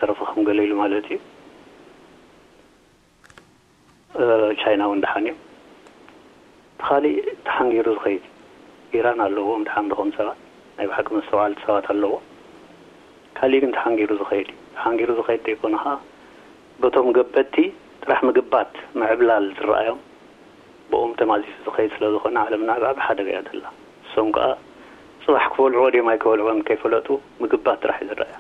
ተረፈ ከም ገለ ኢሉ ማለት እዩ። እ፣ ቻይና እውን ደሓን እዮም። እቲ ካሊእ ተሓንጊሩ ዝኸይድ ኢራን ኣለዎም፣ ደሓን ድኾም ሰባት ናይ ብሓቂ መስተውዓልቲ ሰባት ኣለዎ። ካሊእ ግን ተሓንጊሩ ዝኸይድ እዩ። ተሓንጊሩ ዝኸይድ ዘይኮነ ኸዓ በቶም ገበቲ ጥራሕ ምግባት ምዕብላል ዝረኣዮም ብኦም ተማዚሱ ዝኸይድ ስለ ዝኾነ ዓለምና ኣብ ዓቢ ሓደጋ እያ ዘላ። እሶም ከኣ ጽባሕ ክበልዕዎ ድዮም ኣይክበልዕዎን ከይፈለጡ ምግባት ጥራሕ እዩ ዝረኣያ።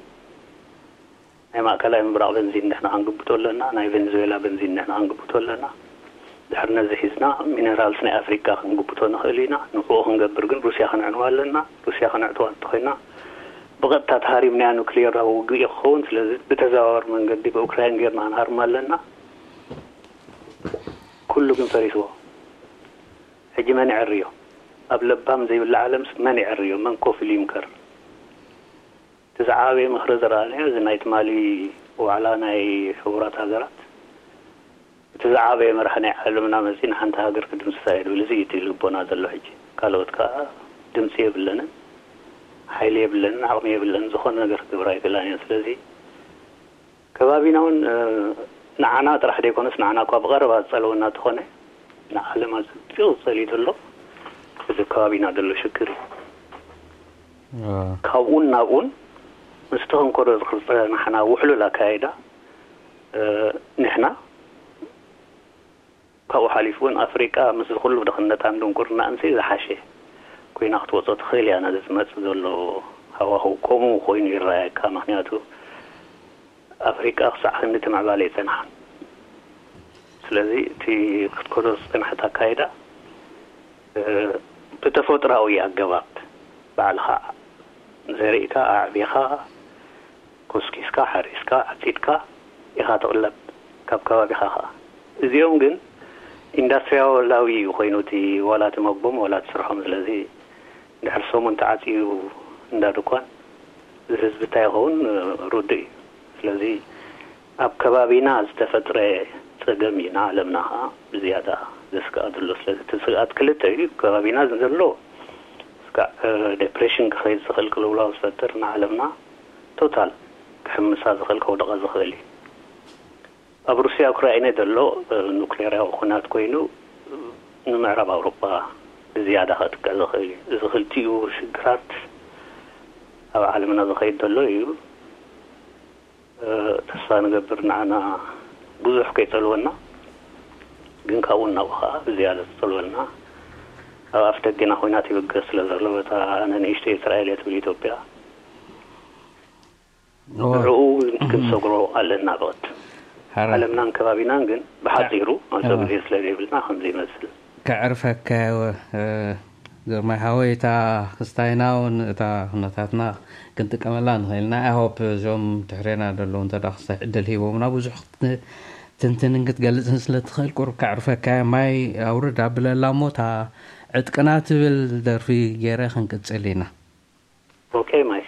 ናይ ማእከላይ ምብራቕ በንዚን ንሕና ክንግብቶ ኣለና። ናይ ቬንዙዌላ በንዚን ንሕና ክንግብቶ ኣለና። ድሕሪ ነዚ ሒዝና ሚነራልስ ናይ ኣፍሪቃ ክንግብቶ ንኽእል ኢና። ንዕኡ ክንገብር ግን ሩስያ ክንዕንዋ ኣለና። ሩስያ ክንዕትዋ እንተኾይና ብቐጥታ ተሃሪምናያ ኑክሌራዊ ውግእ እዩ ክኸውን። ስለዚ ብተዘዋዋሪ መንገዲ ብኡክራይን ጌርና ክንሃርማ ኣለና። ኩሉ ግን ፈሪስዎ። ሕጂ መን ይዕርዮ? ኣብ ለባም ዘይብላ ዓለምስ መን ይዕርዮ? መን ኮፍ ኢሉ ይምከር? እቲ ዝዓበየ ምኽሪ ዝረኣናዮ እዚ ናይ ትማሊ ዋዕላ ናይ ሕቡራት ሃገራት፣ እቲ ዝዓበየ መራሒ ናይ ዓለምና መፂእ ንሓንቲ ሃገር ክድምስሳ እየ ዝብል፣ እዚ እዩ እቲ ልቦና ዘሎ። ሕጂ ካልኦት ከዓ ድምፂ የብለንን፣ ሓይሊ የብለንን፣ ዓቕሚ የብለንን፣ ዝኾነ ነገር ክገብር ኣይክእላን እየን። ስለዚ ከባቢና እውን እ፣ ንዓና ጥራሕ ዘይኮነስ ንዓና እኳ ብቐረባ ዝፀለወና እንተኾነ ንዓለም ኣፀቢቑ ዝፀልዩ ዘሎ እዚ ከባቢና ዘሎ ሽግር እዩ። ካብኡን ናብኡን ምስቲ ክንከዶ ዝኽጸናሕና ውሕሉል ኣካይዳ እ፣ ንሕና ካብኡ ሓሊፉ እውን ኣፍሪቃ ምስዚ ኩሉ ድኽነታን ድንቁርናኣንሲ ዝሓሸ ኮይና ክትወጾ ትኽእል እያ። ነዚ ዝመጽእ ዘሎ ሃዋህው ከምኡ ኮይኑ ይረኣየካ። ምኽንያቱ ኣፍሪቃ ክሳዕ ክንዲ ትምዕባለ ኣይጸንሓን። ስለዚ እቲ ክትከዶ ዝጸንሐት ኣካይዳ እ፣ ብተፈጥሮኣዊ ኣገባብ ባዕልኻ ዘሪእካ ኣዕቢኻ ኮስኪስካ ሓሪስካ ዓፂድካ ኢኻ ትቕለብ ካብ ከባቢኻ ኸዓ። እዚኦም ግን ኢንዳስትሪያላዊ እዩ ኮይኑ እቲ ዋላ እቲ መግቦም ዋላ እቲ ስርሖም። ስለዚ ድሕሪ ሰሙን ተዓፅዩ እንዳ ድኳን እዚ ህዝቢ እንታይ ይኸውን ርዱእ እዩ። ስለዚ ኣብ ከባቢና ዝተፈጥረ ፀገም እዩ ንዓለምና ኸዓ ብዝያዳ ዘስግኣ ዘሎ። ስለዚ እቲ ስግኣት ክልተ እዩ። ከባቢና ዘሎ ስጋዕ ዴፕሬሽን ክኸይድ ዝኽእል ቅልውላው ዝፈጥር ንዓለምና ቶታል ክሕምሳ ዝኽእል ከውድቓ ዝኽእል እዩ። ኣብ ሩስያ ኡክራይነ ዘሎ ኑክሌርያዊ ኩናት ኮይኑ ንምዕራብ ኣውሮጳ ብዝያዳ ከጥቅዕ ዝኽእል እዩ። እዚ ክልቲኡ ሽግራት ኣብ ዓለምና ዝኸይድ ዘሎ እዩ። ተስፋ ንገብር ንዓና ብዙሕ ከይጸልወና፣ ግን ካብኡ እናብኡ ከዓ ብዝያዳ ዝጸልወና ኣብ ኣፍ ደገና ኮይና ትብገስ ስለ ዘሎ በታ ንንእሽተይ እስራኤል እየ ትብል ኢትዮጵያ ንዕኡ ክንሰግሮ ኣለና ብቐት ዓለምናን ከባቢናን ግን ብሓፂሩ መሶ ግዜ ስለ ዘይብልና ከምዚ ይመስል። ከዕርፈካ ግርማይ ሓወይ፣ እታ ክስታይና እውን እታ ኩነታትና ክንጥቀመላ ንኽእል ኢና። I hope እዞም ትሕሬና ዘለዉ እንተ ክስታይ ዕድል ሂቦምና ብዙሕ ክትንትንን ክትገልፅን ስለ ትኽእል ቁሩብ ከዕርፈካ እየ። ማይ ኣውርድ ኣብለላ እሞ እታ ዕጥቅና ትብል ደርፊ ገይረ ክንቅፅል ኢና። ኦኬ ማይ።